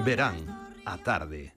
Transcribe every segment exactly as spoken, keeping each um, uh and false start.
Verán a tarde.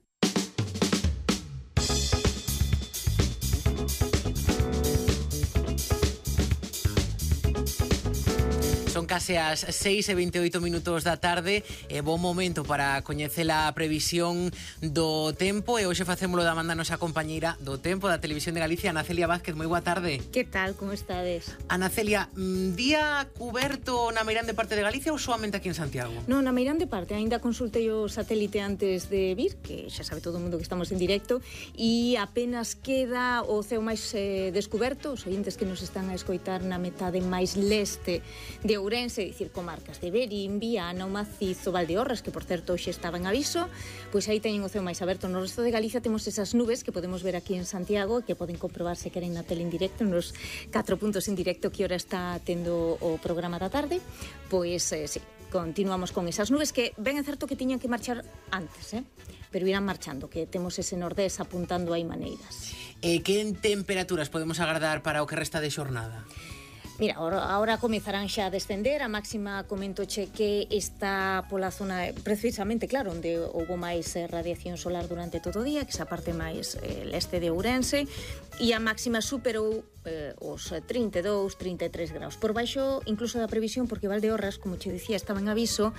Son case as seis e vinte e oito minutos da tarde e bon momento para coñecer a previsión do tempo, e hoxe facémolo da man da nosa compañeira do tempo da Televisión de Galicia, Ana Celia Vázquez. Moi boa tarde. Que tal, como estades? Ana Celia, día cuberto na meirande parte de Galicia ou soamente aquí en Santiago? Non, na meirande parte, aínda consultei o satélite antes de vir, que xa sabe todo o mundo que estamos en directo, e apenas queda o ceo máis eh, descuberto. Os ointes que nos están a escoitar na metade máis leste de Ourense, dicir, comarcas de Verín, Viana, o Macizo, Valdeorras, que por certo hoxe estaba en aviso, pois aí teñen o ceo máis aberto. No resto de Galicia temos esas nubes que podemos ver aquí en Santiago, que poden comprobar se queren na tele en directo, nos catro puntos en directo que hora está tendo o programa da tarde. Pois, eh, sí, continuamos con esas nubes que ben é certo que tiñan que marchar antes, eh? pero irán marchando, que temos ese nordés apuntando aí maneiras. E que temperaturas podemos agardar para o que resta de xornada? Mira, ahora, ahora comezarán xa a descender. A máxima comentoche que está pola zona, precisamente, claro, onde houve máis eh, radiación solar durante todo o día, que esa parte máis eh, leste de Ourense, e a máxima superou eh, os trinta e dous, trinta e tres graus. Por baixo, incluso da previsión, porque Valdeorras, como che dicía, estaba en aviso,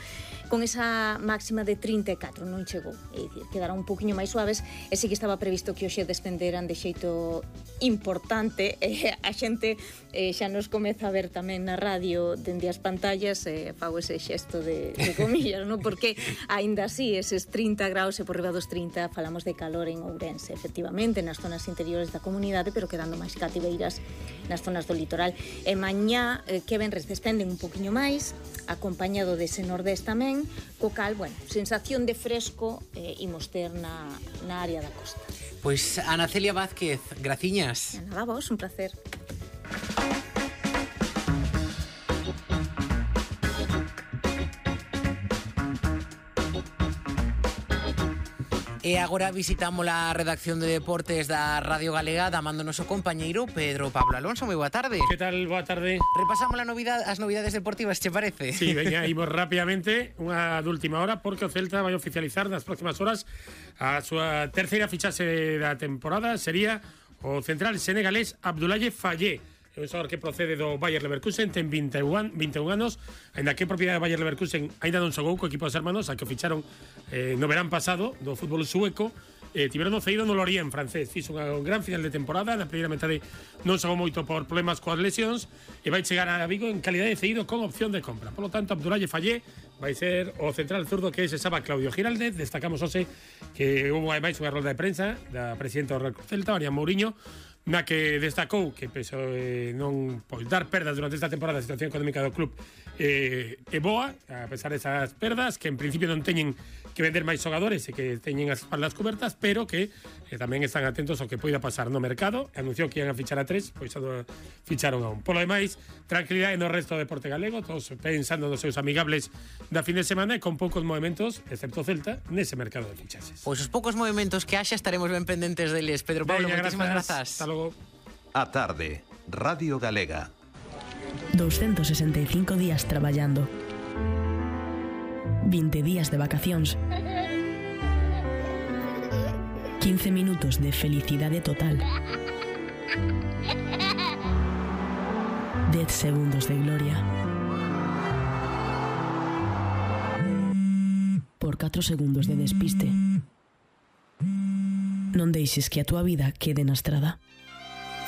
con esa máxima de trinta e catro, non chegou. É dicir, quedaron un poquinho máis suaves, e sí que estaba previsto que hoxe descenderan de xeito importante. Eh, a xente eh, xa nos come a ver tamén na radio dende as pantallas, eh, fago ese xesto de, de comillas, no? Porque aínda así eses trinta graus e por riba dos trinta falamos de calor en Ourense, efectivamente, nas zonas interiores da comunidade, pero quedando máis cativeiras nas zonas do litoral. E mañá, eh, que venres, descenden un poquinho máis, acompañado dese nordés tamén, co cal, bueno, sensación de fresco eh, imos ter na, na área da costa. Pois Ana Celia Vázquez, graciñas. Nada, vos, un placer. E agora visitamos a redacción de deportes da Radio Galega da man do noso compañeiro Pedro Pablo Alonso. Moi boa tarde. Que tal? Boa tarde. Repasamos a novidade, as novidades deportivas, che parece? Sí, veña, imos rápidamente unha de última hora, porque o Celta vai oficializar nas próximas horas a súa terceira fichaxe da temporada. Sería o central senegalés Abdoulaye Fallé, un xogador que procede do Bayer Leverkusen, ten vinte e un anos, ainda que propiedade do Bayer Leverkusen ainda non xogou co equipo dos hermanos, a que o ficharon eh, no verán pasado do fútbol sueco. Eh, tiveron o cedido no Lorient francés, fixo un gran final de temporada, na primeira metade non xogou moito por problemas coas lesións, e vai chegar a Vigo en calidade de cedido con opción de compra. Por lo tanto, Abdoulaye Fallé vai ser o central zurdo que se chama Claudio Giraldez. Destacamos hoxe que houve máis unha rolda de prensa da presidenta do Real Cruz Celta, María Mourinho, na que destacou que peso eh, non pois, dar perdas durante esta temporada. A situación económica do club eh, é boa, a pesar desas perdas, que en principio non teñen que vender máis xogadores e que teñen as espaldas cobertas, pero que eh, tamén están atentos ao que poida pasar no mercado. Anunciou que iban a fichar a tres, pois xa ficharon a un. Por lo demais, tranquilidade no resto do deporte galego, todos pensando nos seus amigables da fin de semana e con poucos movimentos, excepto Celta, nese mercado de fichaxes. Pois os poucos movimentos que haxa estaremos ben pendentes deles. Pedro Pablo, moitísimas grazas. Hasta logo. A tarde, Radio Galega. doscientos sesenta e cinco días traballando. vinte días de vacacións. quince minutos de felicidade total. dez segundos de gloria. Por catro segundos de despiste. Non deixes que a túa vida quede na estrada.